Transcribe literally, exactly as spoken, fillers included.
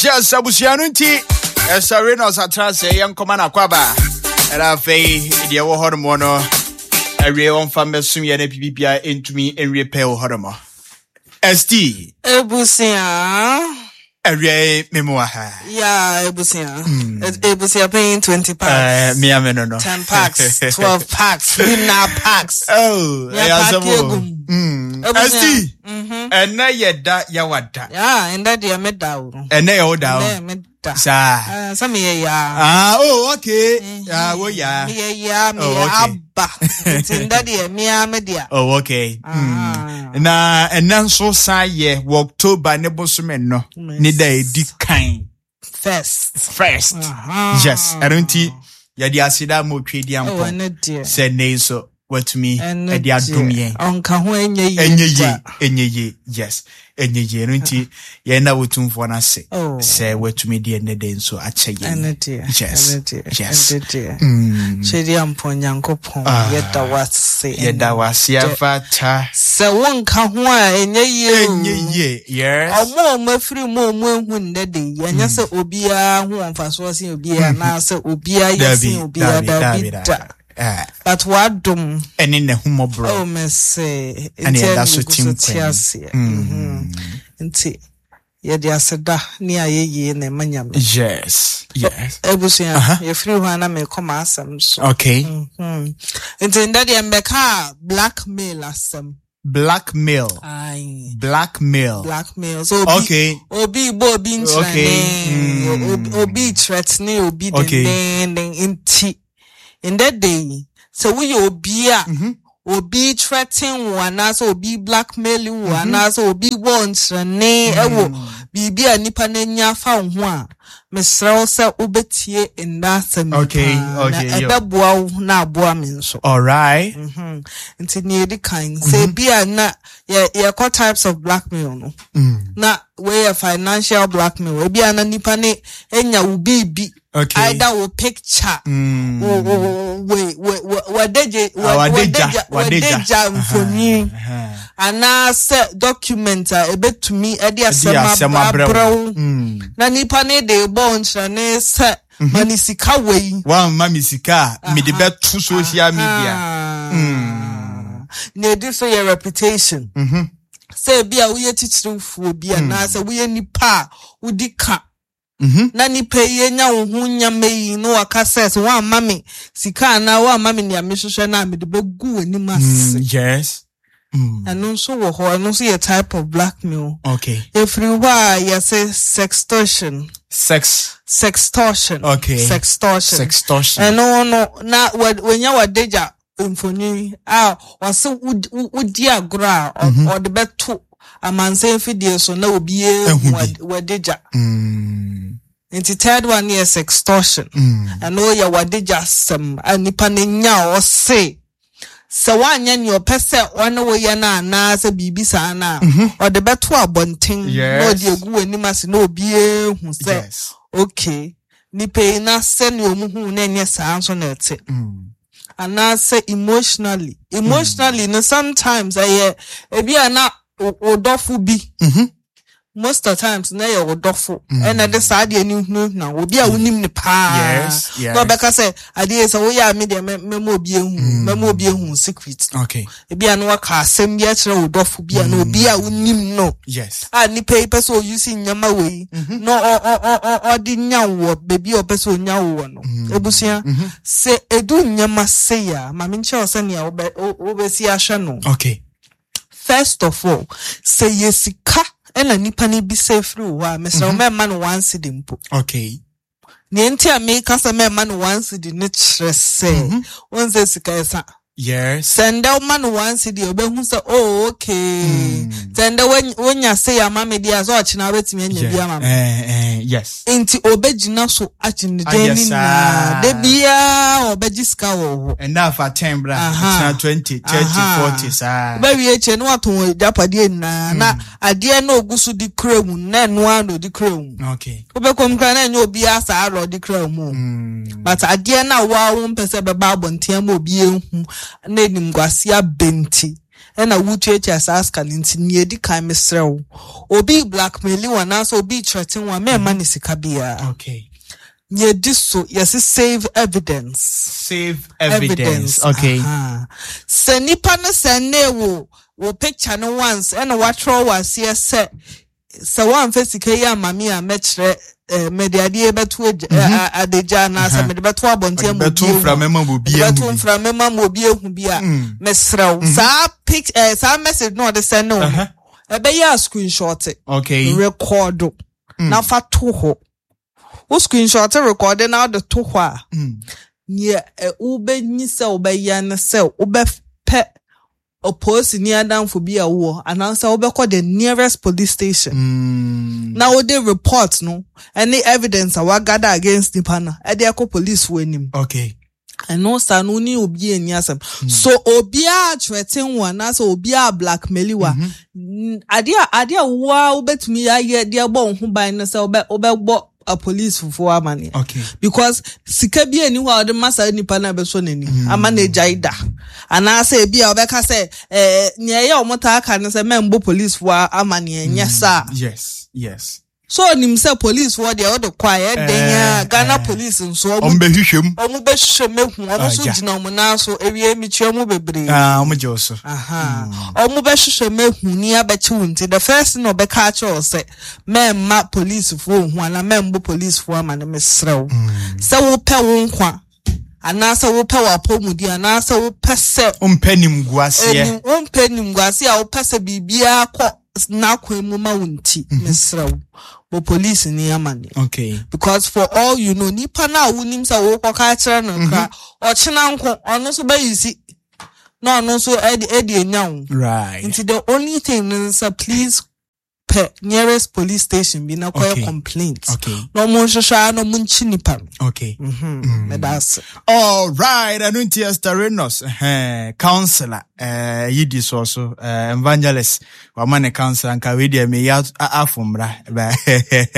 Yes, abusua no nti ɛsɛ Renos atena sɛ yɛnkɔma no akwaba. Ɛna afei deɛ ɛwɔ hɔ nom no awie, wɔmfa mmɛsom yɛ no, bibibia ɛntumi nwie pɛ wɔ hɔ nom. S T. Ebusua. Awie, memu wɔ ha. Yeah, ebusua. Ebusua paying twenty Eh, packs. mea me no no. ten packs, twelve packs, winner packs. Oh, Yeah, ɛyɛ asɛm pack o. egum. Mm. Ebusua. S T, Mhm. ɛnɛ yɛ da yɛwada. Yeah, and that deɛ me da o. Ɛnɛ yɛ wo da o. Ɛnɛ me da. Saa. Ah, sɛ meyɛ yaa. Ah, oh, okay. Ah, wo ya. Meyɛ yaa, meyɛ Oh, okay. aba. Nti ndɛ deɛ mea me dea. Oh, okay. Ah. Mm. Na ɛnɛ nso san yɛ wɔ October ne bosome no ne da a ɛdi kan. First. First. Aha. Yes. Ɛno nti yɛde aseda ma otwe di Oh, ampɔn ɛno deɛ. sɛ nne yi nso watumi Ɛno ɛde adom deɛ. yɛn. Ɔnka ho ɛnyɛ yie Ɛnyɛ yie, da. ɛnyɛ yie. Yes. Ɛnyɛ yie. Ɛno nti yɛn na wotumfoɔ no ase Oh. sɛ watumi de ɛnɛ da yi nso akyɛ yɛn. Ɛno deɛ. Yes. Ɛno deɛ. Yes. Ɛno deɛ. Mm. Twɛdi ampɔn Nyankopɔn. Ah. Yɛda wase. Yɛda wase afata. Sɛ wonka ho a ɛnyɛ yie o. Ɛnyɛ yie. Yes. Ɔmo a ɔmo afiri mu a ɔmo ehu nnɛ de yi, ɛnyɛ sɛ obiara ho wɔ mfasoɔ sen obiara anaasɛ obiara yɛ sen Dabi, obiara, dabi, dabi dabi, da. dabi. Ah, But wadom. Ɛne n'ahummɔborɔ. Oh, mese. Ɛne Nti ɛda ɛna so egu te so te nkwa mu. aseɛ. Mhm. Nti yɛde aseda ne ayɛyie na ɛma Nyame. Yes. Yes. Abusua, Aha. yɛfiri hɔ a na mekɔ m'asɛm so. Okay. Mhm. Nti ndɛ deɛ mbɛka a blackmail asɛm. Blackmail. Aye. Blackmail. Blackmail. So obi Okay. obi bɔ obi Okay. nkyerɛne, Mm. obi obi threaten obi Okay. dendenden. Nti ndɛ de yi, sɛ woyɛ obi a Mhm. obi threaten wo anaasɛ obi blackmail wo Mhm. anaasɛ obi bɔ nkyerɛne ɛwɔ biribi a nipa n'ani afa wo ho a, mesrɛ wo sɛ wobɛtie nda asɛm yi Okay, paa, na okay, yo. ɛbɛboa wo na aboa me nso. All right. Mhm. Nti nea edi kan, sɛ ebi a na yɛ yɛkɔ types of blackmail no, Mm. na wei yɛ financial blackmail. Ebi a na nipa ne enya wo biribi, Okay. either wo picture, Mm. wo wo wo wo wo wadegye Ah, wadegya, wadegya. wadegya mfonyin Aha. anaasɛ document a ebetumi ɛde Ɛde asɛm asɛm abrɛ abrɛ wo, wo. Mm. na nipa ne de bɔ nkyerɛne sɛ ma ne sika wei. Wamma me sika a, mede bɛto social media. Ah. Mm. Na edi so yɛ reputation. Mhm. Sɛ ebi a woyɛ titirifoɔ bi anaasɛ woyɛ nipa a wodi ka Mhm. na nipa yi anya wo ho nyama yi na waka sɛ sɛ woamma me sika anaa woamma me nea mehwehwɛ no a, mede bɛgu w'anim ase. Mm, yes. Mm. Ɛno nso wɔ hɔ, ɛno nso yɛ type of blackmail. Okay. Ɛfiri hɔ a yɛsɛ sextortion. Sex. Sextortion. Okay. Sextortion. Sextortion. Ɛno no na wa- wanya wadagya mfonyin a ɔse wod- wo- wodi agorɔ a ɔ- ɔde bɛto amansan fidie so na obiara Ehu hu bi. wad- wadagya. Mm. Nti third one yɛ sextortion. Mm. Ɛno yɛ wadagya asɛm a nipa no nya a ɔse sɛ woanyɛ nea ɔpɛ sɛ ɔne woyɛ no anaasɛ biribi saa no a, ɔde bɛto abɔnten na Yes. ɔde agu w'anim ase na obiara hu sɛ Yes. okay, nipa yi na sɛnea ɔmo hu na ɛnyɛ saa nso na ɛte. Mm. Anaasɛ emotionally emotionally no, sometimes ɛyɛ ebi a na wo wo dɔfo bi, Mhm. most of the times na yɛ wo dɔfo ɛna de saa adeɛ no hunahuna wo, obi a wonim ne paa, Yes, yes. na ɔbɛka sɛ adeɛ yi sɛ woyɛ a, me deɛ mɛ- mɛma obi ehu mɛma obi ehu secret. Okay. Ebi a na waka asɛm bi akyerɛ wo dɔfo bi a na obi a wonim no Yes. a nipa yi pɛ sɛ oyi nneɛma wei na ɔ- ɔ- ɔ- ɔ- ɔde nya wo wɔ beebi a ɔpɛ sɛ onya wo wɔ no. Ebusua, sɛ edu nneɛma sei a, maame nkyɛn wo sɛnea wobɛ wo- wobɛsi ahwɛ no. Okay. First of all, sɛ yɛ sika ɛna nipa no bi sɛ efiri wo hɔ a, mesrɛ wo, mɛmma no one cedi mpo. Okay. Nea nti a meka sɛ mɛmma no one cedi ne kyerɛ sɛ wɔn sɛ sika ɛsa. Yes. Sɛ ndɛ woma no one cedi a, ɔbɛhu sɛ, oh, okay, sɛ ndɛ woanya- wonya sei ama me deɛ a, sɛ ɔkyena wobɛtumi anya bi ama me. Eh, eh, yes. Nti ɔbɛgyina so agye ne Ayɛ dan ne saa. nyinaa, da biara ɔbɛgye sika wɔ hɔ. And now for ten bra, Aha. twenty, thirty, Aha. forty, saa. Wobɛwie akyire na watɔn agyapadeɛ nyinaa na adeɛ na ogu so de kura mu na ɛno ara na ɔde kura mu. Okay. Wobɛkɔ mu koraa na ɛnyɛ obiara saa na ɔde kura mu o. Mm. But adeɛ no a waa wo mpɛ sɛ ɛbɛba abɔnten ama obi ehu na enimguase abɛnti Ɛna wotuatua saa sika no. Nti nea edi kan, mesrɛ wo, obi blackmail wo anaasɛ obi threaten wo a, mɛmma ne sika biara. Okay nea edi so, yɛsi save evidence. Save evidence, okay. Aha. Sɛ nipa no sɛ ne wo wo picture no once, ɛna watwerɛ wɔ aseɛ sɛ sɛ woamfa sika yi ama me a, mɛkyerɛ eh, mede adeɛ bɛto agya- eh, a- adagya anaasɛ mede bɛto abɔnten ama bɛto obi ehu. Mframa ma obi mede ehu bɛto bi. Mframa ma ma obi ehu bi a, mesrɛ wo, saa pic eh, saa message na ɔde send wo no, Uh-huh. ɛbɛyɛ a screenshot, okay record na fa to hɔ. Wo screenshot, record na wode to hɔ a, nea ɛ, wobɛnyi sɛ wobɛyɛ ne sɛ wobɛpɛ ɔpolisini adamfo bi a wowɔ anaasɛ wobɛkɔ the nearest police station Mm. na wode report no ɛne evidence a wagather against nipa no ɛde ɛkɔ police wɔ anim. Okay Ɛno saa no, wo ne obi ani asɛm so, obiara threaten wo anaasɛ obiara blackmail wo a, n- adeɛ a adeɛ a woa wobɛtumi ayɛ de abɔ wo ho ban no sɛ wobɛ wobɛbɔ apolicefoɔ amanneɛ, okay because sika bi ani hɔ a ɔde ma saa nipa no a ɛbɛsɔ n'ani ama no agyae da, anaasɛ ebi a ɔbɛka sɛ ɛɛ nea ɛyɛ a ɔmo taa ka no sɛ mɛmbɔ policefoɔ amanneɛ, nyɛ saa. yes yes So onim sɛ policefoɔ deɛ, ɔde kɔ a ɛyɛ den a, Eh, Ghana eh. police nso ɔmo ɔmo bɛhwehwɛ mu. Ɔmo bɛhwehwɛ mu ehu ɔmo nso Ah, yeah. gyina ɔmo nan so ewie mikyia mu bebree. Ah, ɔmo gye wo so. Aha. Ɔmo bɛhwehwɛ mu ehu ni abɛkye wo. Nti the first thing ɔbɛka akyerɛ wo sɛ mɛmma policefoɔ ohu anaa mɛmbɔ policefoɔ ama no, mesrɛ wo, sɛ wopɛ wo nkwa anaasɛ wopɛ w'apɔmudi anaasɛ wopɛ sɛ wompɛ nimguaseɛ. Enim wompɛ nimguase a, wopɛ sɛ biribiara kɔ n'akwan mu ma wo nti, mesrɛ wo, bɔ police ni amanneɛ, okay because for all you know, nipa na a wonim sɛ wokɔka akyerɛ no kora, ɔkyena nko ɔno nso bɛyi si na ɔno nso ɛde ɛde enya wo. Right nti the only thing ne sɛ, please, pɛ nearest police station bi na kɔyɛ Okay. complaint okay na ɔmo nhwehwɛ a na ɔmo nkyi nipa no. Okay Mhm. meda ase. All right, ɛno nti Esther Renos, eh, counselor, eh, yidi soɔ so, eh, evangelist, wama ne counselor, nka wei deɛ meyɛ afo mmra.